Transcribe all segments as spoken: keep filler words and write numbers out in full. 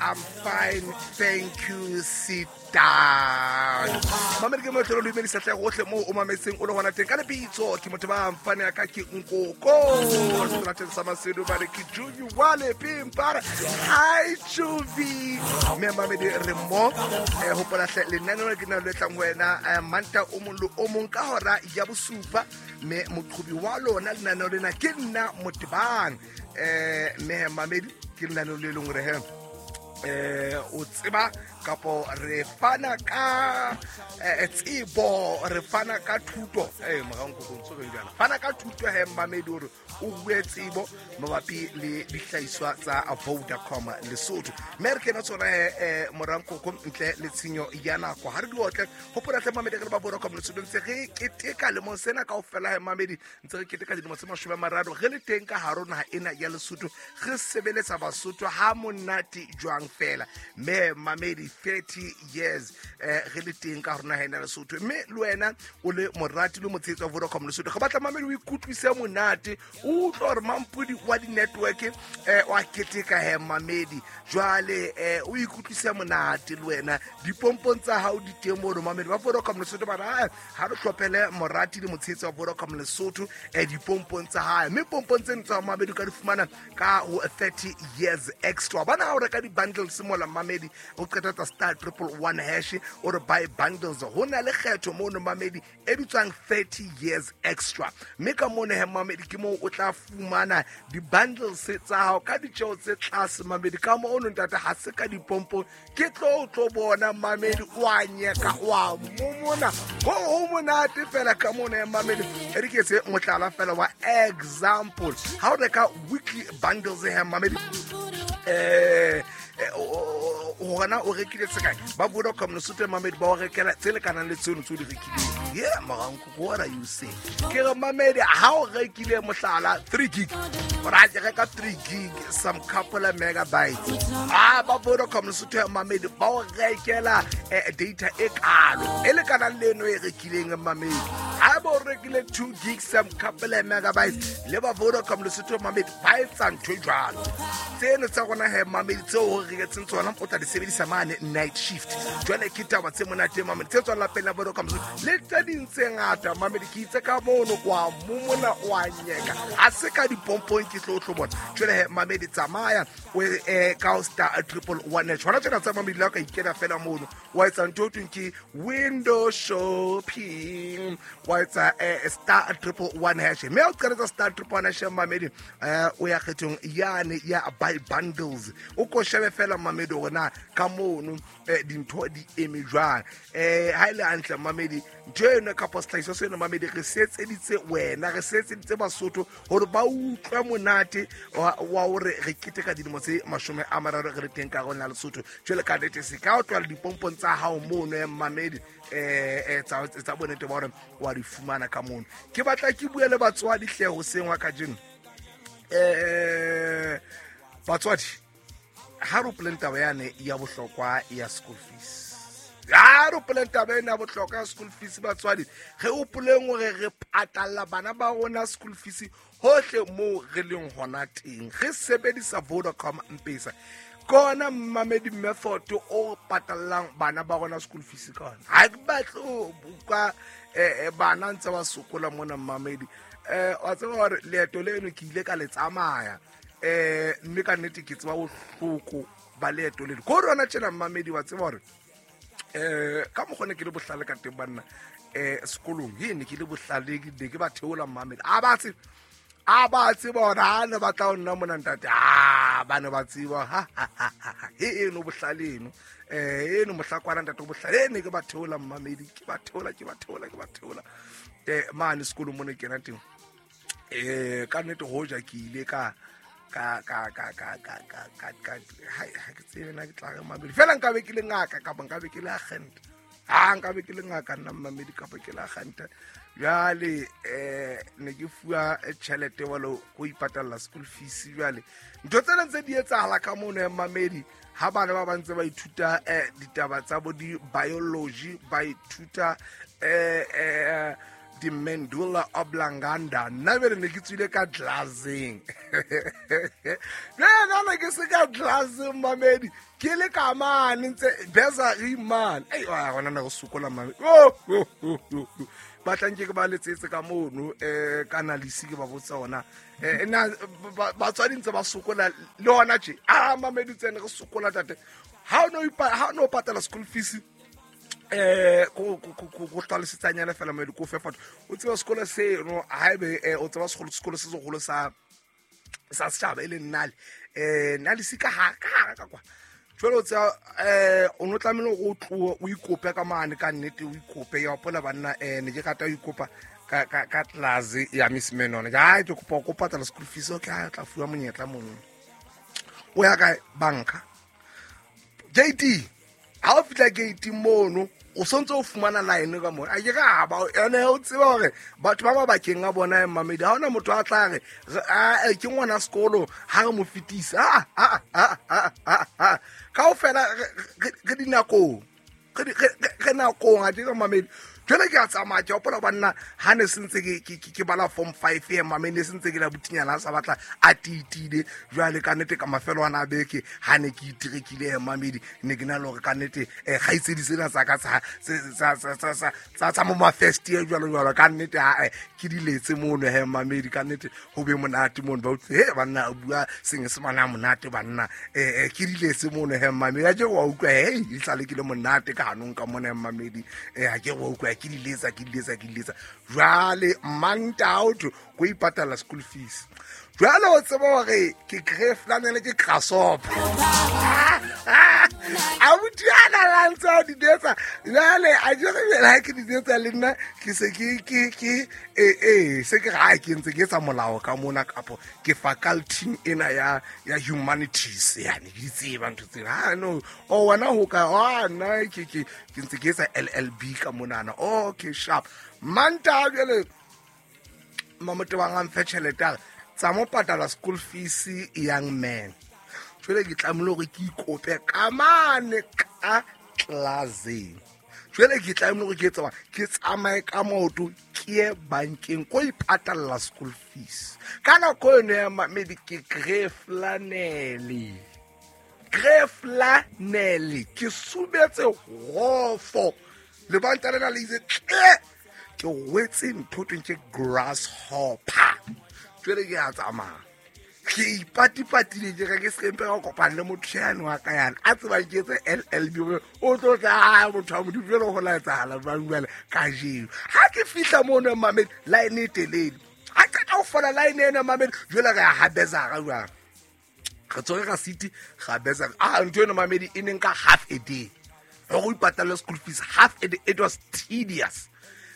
I'm fine, thank you, sit down. Mamedi ke motho lo dumedisa tle gohle mo o mametseng o le hona teng ka lebitso ke motho ba mfane ya ka ke nkoko seterateng sa Masedu ba re ke Juvi wale pimpara. Hi Juvi. Mme mamedi re mo eh hopola hle lenaneo ke na le tlang ho wena manta o mong le o mong ka hora ya bosupa mme moqhobi wa lona lenaneo lena ke nna Motebang. Eh mme mamedi ke lenaneo le leng hore he eh o tseba kapo re fana ka tsebo re fana ka thuto eh moraong go ntse re jana fana ka thuto he mamedi hore o bue tsebo mabapi le dihlahiswa tsa Vodacom Lesotho mme re kena tsona he moraong go ntle le tshenyo ya nako ha re di otle hopola hle mamedi re ba Vodacom Lesotho ntse re keteka le mo sena kaofela he mamedi ntse re keteka dilemo tse mashome a mararo re le teng ka hare naha ena ya Lesotho re sebeletsa Basotho ha monate jwang fela mme mamedi thirty years eh re le teng ka rona hena Lesotho mme le wena o le morati le motshetso wa Vodacom Lesotho re batla mamedi o ikutlwise monate o utlwe hore mampudi wa di network eh wa keteka he mamedi jwale eh o ikutlwise monate le wena dipompong tsa hao di teng mo mamedi ba Vodacom Lesotho ba ra ha re hlophele morati le motshetso wa Vodacom Lesotho eh dipompong tsa hae mme pompong tseno tsa mamedi ka di fumana ka ho thirty years extra bana ha o reka di bundles mola mamedi o qeta tsa star triple one hash or buy bundles ho na le kgetho mo no mamedi e bitswang thirty years extra mme ka mona he mamedi ke mo o tla fumana di bundles tsa hao ka ditjeo tse tlase mamedi ka mo ono ntate ha se ka dipompo ke tlo tlo bona mamedi wa nyeka wa momona ho ho monate fela ka mona he mamedi e re ke se motlala fela wa example ha o reka weekly bundles he mamedi eh hona o rekile tsekae ba Vodacom Lesotho mamedi ba o rekela tse lekanang le tseno tse o di rekileng. Yeah moranko what are you saying ke re mamedi ha o rekile mohlala three gig o ra ke reka three gig some couple of megabytes ah ba Vodacom Lesotho mamedi ba o rekela data e kalo e lekanang le eno e rekileng mamedi ha ba o rekile two gig some couple of megabytes le ba Vodacom Lesotho mamedi ba etsa ntho e jwalo tseno tsa rona he mamedi tseo o reketseng tsona o tla di sebedisa mane night shift jwale ke taba tse monate mamedi tse tswang lapeng la Vodacom le tse ding tse ngata mamedi ke itse ka mono kwa momona wa nyeka ha se ka dipompong ke tlo tlo bona jwale he mamedi tsamaya o eh ka star triple one tshwana tsena tsa mamedi la ka ikela fela mono wa etsa ntho e thweng ke window shopping wa etsa star triple one hash mme o qeletsa star triple one hash mamedi o ya kgethong yane ya buy bundles o ko shebe fela mamedi hore na ka mono dintho di eme jwang eh ha ile hantle mamedi ntho eno ka sehlahiswa seno mamedi re setseditse wena re setseditse Basotho hore ba utlwe monate wa hore re keteka dilemo tse mashome a mararo re le teng ka rona Lesotho jwale ka nnete se ka o tlwala dipompong tsa hao mono ya mamedi eh tsa tsa bonete ba hore wa di fumana ka mono ke batla ke bue le batswadi hle hoseng wa kajeno eh batswadi ha re opoleng taba yane ya bohlokwa ya school fees ha re opoleng taba ena ya bohlokwa ya school fees batswadi re opoleng hore re patalla bana ba rona school fees hohle moo re leng hona teng re sebedisa Vodacom M-Pesa kona mamedi method o patallang bana ba rona school fees ka ona ha ke batle ho buka bana ntse ba sokola mona mamedi eh wa tseba hore leeto leno ke ile ka le tsamaya eh mme ka nnete ke tseba bohloko ba leeto leno ko rona tjena mamedi wa tseba hore eh ka mokgone ke le bohlale ka teng banna eh sekolong he ne ke le bohlale ke ke ba theola mamedi a ba tsebe a ba tseba hore ha ne ba tla ho nna mona ntate a ba ne ba tseba ha ha he eno bohlale eno eh eno mohlakwana ntate bohlale ne ke ba theola mamedi ke ba theola ke ba theola ke ba theola eh mane sekolong mona kena teng eh ka nnete hoja ke ile ka ka ka ka ka ka ka ka ka ha ke tsebe na ke tla re mamedi fela nka be ke le ngaka kapa nka be ke le agent ha nka be ke le ngaka nna mamedi kapa ke le agent jwale eh ne ke fuwa tjhelete walo go ipatalla school fees jwale ntho tsena tse di etsahala ka mono ya mamedi ha bana ba bantse ba ithuta eh ditaba tsa bo di biology ba ithuta eh eh di-mandula oblongata. Nna bele ne ke tswile ka tlelaseng. Nna ke se ka tlelaseng mamedi, ke le ka mane ntse bursary mane. Ei, gona ne go sokola mamedi. Ba tla nke ke ba letsetse ka mono um ka analyse ke ba botsa ona nna batswadi ntse ba sokola le hona tje. A mamedi tsene re sokola tate. Ha o no patala school fees eh ko ko go tlhalosetsanyana fela mamedi ko fe fatho. O tseba sekolo seno haebe o tseba sekolo sekolo se segolo sa sa setjhaba e leng Nale eh Nale se ka ha ka ka kwa. Jwale o tseba eh o no tlamehile o tlohe o ikope ka mane ka nnete o ikope ya hopola banna eh ne ke rata ho ikopa ka ka ka class ya Miss Menon. Ha ke kopa go patala school fees, okay, a tla fuwa monyetla mono. O ya ka banka J T ha o fihla gate mono o sontse o fumana line ka mona. A ke ra ba ene o tseba hore batho ba mabakeng a bona mamedi ha ona motho a tla re a ke ngwana sekolo ha re mo fetisa. A a a a a kaofela re dinakong re re nakong a dira mamedi. Jwale ke a tsamaya ke hopola banna ha ne sentse ke ke bala form five e mamedi sentse ke la butinyana sa batla a titile. Jwale ka nnete ka mafelo ana beke ha ne ke itirekile mamedi ne ke na le hore ka nnete kgaitsedi tsena tsa ka tsa tsa tsa tsa tsa mo ma first year jwalo jwalo ka nnete ha ke diletse mono he mamedi ka nnete ho be monate mono ba utlwe he banna a bua senyesemane a monate banna eh ke diletse mono he mamedi a ke wa utlwa he e tlale ke le monate ka hanong ka mona mamedi eh ha ke wa utlwa ke diletsa ke diletsa ke diletsa. Jwale manta out go ipatala school fees. Jwale o tseba hore ke grey flannel ke grasshopper. A butiana la ntse di detsa. Jwale a jere bela ke di detsa le nna ke se ke ke ke eh eh se ke ga ke ntse ke etsa molao ka mona kapo ke faculty ena ya ya humanities yani ke tseba ntho tsena. Ha no o wena ho ka a nna ke ke ke ntse ke etsa L L B ka monana. Okay sharp. Manta jwale mamote wa nga mfe tjhelete tsa mo patala school fees young man. Jwale ke tlamehile hore ke ikope ka mane ka tlelaseng. Jwale ke tlamehile hore ke tsamaya ke tsamaye ka maoto ke ye bankeng ko ipatalla school fees. Ka nako eno ya mamedi ke grey flannel. Grey flannel ke subetse hofo. Lebanta lena le itse tle ke wetse ntho tweng ke grasshopper. Jwale ke a tsamaya ke ipatipatile ke re ke se mpe ka kopana le motho yane wa ka yana a tsebang ke etse L L B o tlo tla motho wa modimo jwale ho la etsahala jwang jwale kajeno. Ha ke fihla mono mamedi line e telele ha qeta ho fola line ena mamedi jwale re a habezara jwang re tsore ka city ga bezara a ntho eno mamedi e neng ka half a day go ipatalla school fees half a day. It was tedious.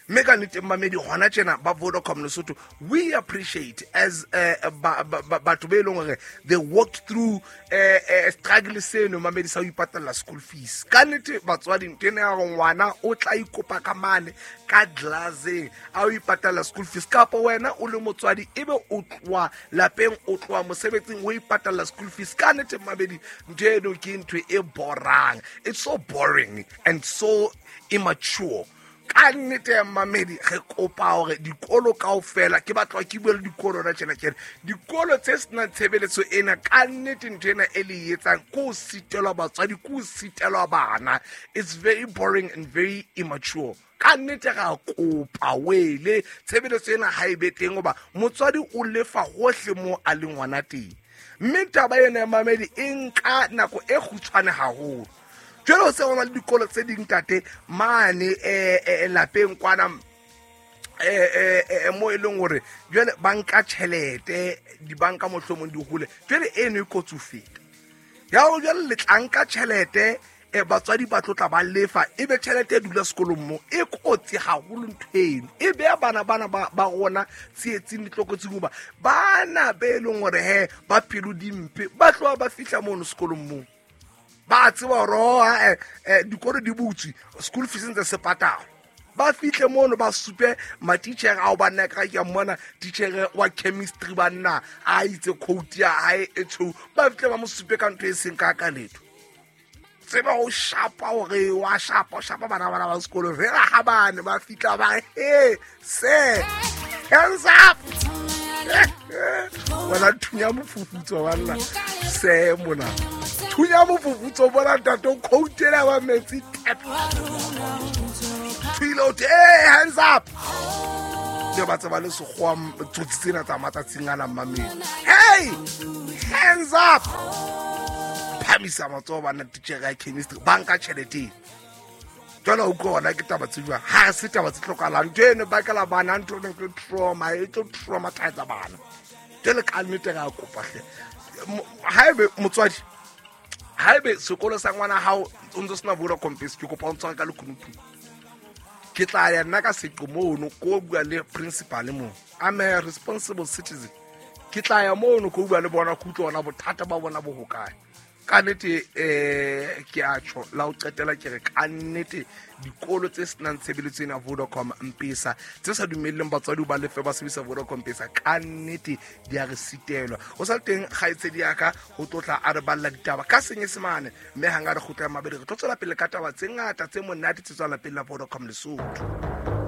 Mme ka nnete mamedi hona tjena ba Vodacom Lesotho we appreciate as batho be leng hore they walked through uh, struggle seno mamedi sa ho ipatalla school fees. Ka nnete batswadi ntho ena ya hore ngwana o tla ikopa ka mane ka tlelaseng a o ipatalla school fees kapa wena o le motswadi ebe o tloha lapeng o tloha mosebetsing o ipatalla school fees. Ka nnete mamedi ntho eno ke ntho e borang. It's so boring and so immature. Ka nnete mamedi re kopa hore dikolo kaofela ke batla ke bue le dikolo ra tjena tjena dikolo tse senang tshebeletso ena ka nnete ntho ena e le etsang ko sitelwa batswadi ko sitelwa bana. It's very boring and very immature. Ka nnete ra kopa wele tshebeletso ena ha e be teng hoba motswadi o lefa hohle mo a leng ngwana teng. Mme taba ena ya mamedi e nka nako e kgutshwane haholo. Jwale ho se ho na le dikolo tse ding tate mane eh lapeng kwana eh eh mo e leng hore jwale ba nka tjhelete dibanka mohlomong di hole jwale eno e kotsi ho feta ya ho jwale le tla nka tjhelete eh batswadi ba tlotla ba lefa ebe tjhelete e dula sekolong mo e kotsi haholo ntho eno e beha bana bana ba ba rona tsietsing ditlokotsing hoba bana be leng hore he ba pelo dimpe ba tloha ba fihla mono sekolong mo ba tseba hore eh dikolo di butswe school fees ntse se patala ba fihle mono ba supe matitjhere ao banna ka ke mmona titjhere wa chemistry banna a itse quote ya hae e tshweu ba fihle ba mo supe ka ntho e seng ka ka letho. Tseba ho shapa hore wa shapa, o shapa bana bana ba sekolo. Fela ha bane ba fihla ba re, hey, sir, hands up. Wena thunya mofufutso banna. Se mona. Thunya mofufutso bona ntate o khoutela ba metsi tap. Thuile o te, hey, hands up. Le ba tseba le sekgowa tsotsi tsena tsa matsatsing ana mmamedi. Hey, hands up. Phamisa matsoho bana titjhere ya chemistry ba nka tjhelete. Jwale o utlwa hona ke taba tse jwang? Ha se taba tse hlokahalang. Ntho eno e bakela bana ntho e tlo trauma, e tlo traumatize bana. Jwale ka nnete re a kopa hle. Haebe motswadi, haebe sekolo sa ngwana hao o ntso sena Vodacom Pesa, ke kopa o ntshware ka lekunutu. Ke tla ya nna ka seqo mono, ko bua le principal moo. I'm a responsible citizen. Ke tla ya mono ko bua le bona, ke utlwe hona bothata ba bona bo hokae. Ka nnete, eh, ke a tjho, la ho qetela ke re ka nnete dikolo tse senang tshebeletso ena Vodacom M-Pesa, tse sa dumelleng batswadi ba lefe ba sebedisa Vodacom M-Pesa, ka nnete di a re sitelwa. Ho sa le teng kgaitsedi ya ka ho tlotla a re balla ditaba ka Senyesemane, mme hang a re kgutla mabedi re tlo tswela pele ka taba tse ngata tse monate tse tswang lapeng la Vodacom Lesotho.